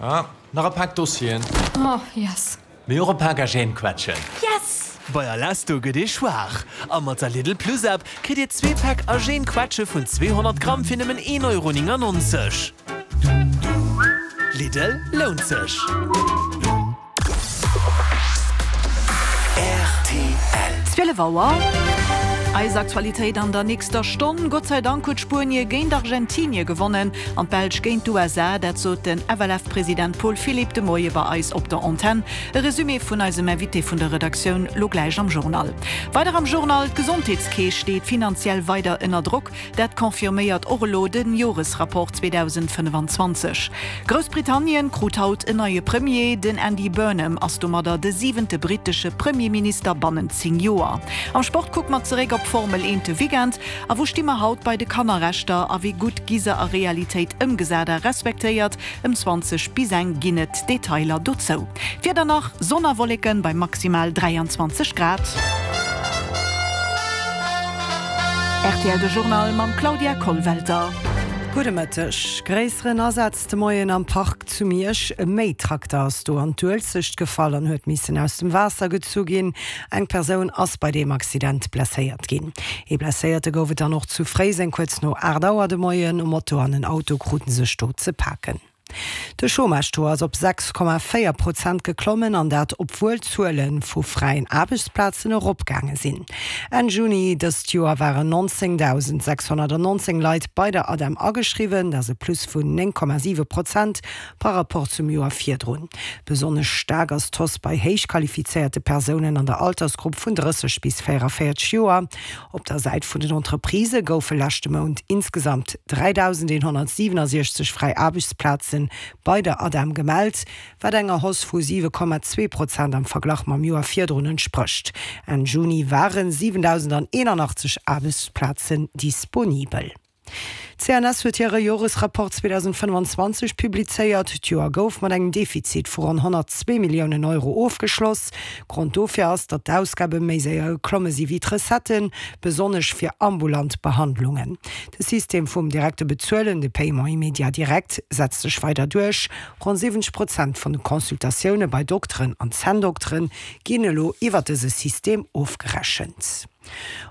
Ah, nach e Pak Dossieren. Oh, yes. Mee och e Pak Agènequetschen. Yes! Bei Alesto gëtt ee schwaach a mat der Lidl Plus App kritt Dir zwee Päck Agènequetsche vun 200 Gramm fir nëmmen 1,99 Euro. Lidl, lount sech! Rtl. 12 Auer. Eis Aktualitéit an der nächster Stonn, Gott sei Dank huet Spuenie géint Argentinie gewonnen an d'Belsch géint d'USA. Dat sot den FLF-President Paul Philipp de Moie bei eis op der Antenn. E Resumé vun eisem Invité vun der Redaktioun lo gläich am Journal. Weider am Journal, D'Gesondheetskeess steet finanziell weider ënner Drock. Dat confirméiert och elo de Joresrapport 2025. Groussbritannien krut haut en neie Premier. Den Andy Burnham ass domadder de siwente brittesche Premierminister bannent 10 Joer. Am Sport kucke mer zeréck op d'Formel 1 de Weekend. A wou sti mer haut bei de Kannerrechter a wéi gutt gi se a Realitéit ëmgesat a respektéiert? Ëm 20 bis eng ginn et Detailer dozou. D'Wieder nach, Sonn a Wolleken bei maximal 23 Grad. Rtl De Journal mam Claudia Kollwelter. Gudde Mëtteg. Gréisseren Asaz de Moien am Park zu Miersch. E Méitrakter ass do an d'Uelzecht gefall an huet missen aus dem Waasser gezu ginn. Eng Persoun ass bei deem Accident blesséiert ginn. Ee Blesséierte gouf et dann och zu Fréiseng kuerz no 8 Auer de Moien. E Moto an en Auto krute sech do ze paken. De Chômage-Taux ass op 6,4 Prozent geklommen, an dat obwuel d'Zuele vu fräien Aarbechtsplazen eropgaange sinn. Enn Juni dëst Joer waren 19.619 Leit bei der ADEM ageschriwwen, dat ass e Plus vun 9,7 Prozent par rapport zum Joer virdrun. Besonnesch staark ass d'Hausse bei héich qualifizéierte Persounen an der Altersgrupp vun 30 bis 44 Joer. Op der Säit vun den Entreprisë goufe leschte Mount insgesamt 3.167 fräi Aarbechtsplaze bei der ADEM gemellt, wat enger Hausse vu 7,2 Prozent am Verglach mam Joer virdrun entsprécht. Enn Juni ware 7.081 Aarbechtsplazen disponibel. D'CNS huet hire Joresrapport 2025 publizéiert. D'Joer gouf mat engem Defizit vu ronn 102 Milliounen Euro ofgeschloss. Grond dofir ass, datt d'Ausgabe méi séier geklomme si wéi d'Recetten, besonnesch fir ambulant Behandlungen. De System vum direkte Bezuelen, de Paiement immédiat direct, setzt sech weider duerch. Ronn 70 Prozent vun de Consultatioune bei Dokteren an Zänndokteren ginn elo iwwer dëse System ofgerechent.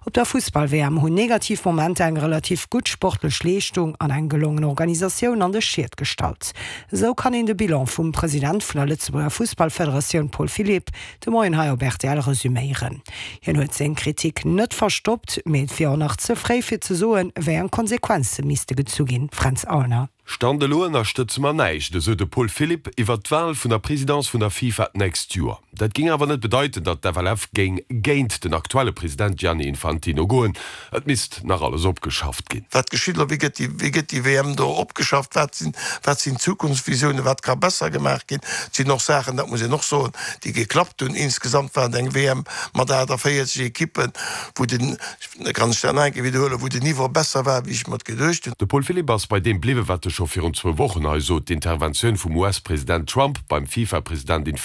Op der Fussball-WM hunn negativ Momenter eng relativ gutt sportlech Leeschtung an eng gelongen Organisatioun an de Schiet gestallt. Esou kann een de Bilan vum President vun der Lëtzebuerger Fussballfederatioun Paul Philipp de Moien hei op rtl resuméieren. Hien huet seng Kritik net verstoppt, mee et wier och nach ze fréi fir ze soen, wéi eng Konsequenze misste gezu ginn. Fränz Aulner. Stand elo ënnerstëtze mer näischt, esou de Paul Philipp iwwert d'Wal vun der Présidence vun der FIFA d'nächst Joer. Dat géing awer net bedeiten, datt d'FLF géing géint den aktuelle President Gianni Infantino goen. Et misst nach alles opgeschafft ginn. Wat geschitt elo? Wéi gëtt déi, wéi gëtt déi WM do opgeschafft? Wat sinn, wat sinn d'Zukunftsvisiounen? Wat ka besser gemaach ginn? Et sinn och Saachen, dat muss een och soen, déi geklappt hunn. Insgesamt war et eng WM mat 48 Ekippen, wou den, Da kann ech dat nach eng Kéier widderhuelen, wou den Niveau besser war, wéi ech mer et geduecht hunn. De Paul Philipp ass bei deem bliwwen, wat e scho virun zwou Wochen hei sot, D'Interventioun vum US-President Trump beim FIFA-President Infantino.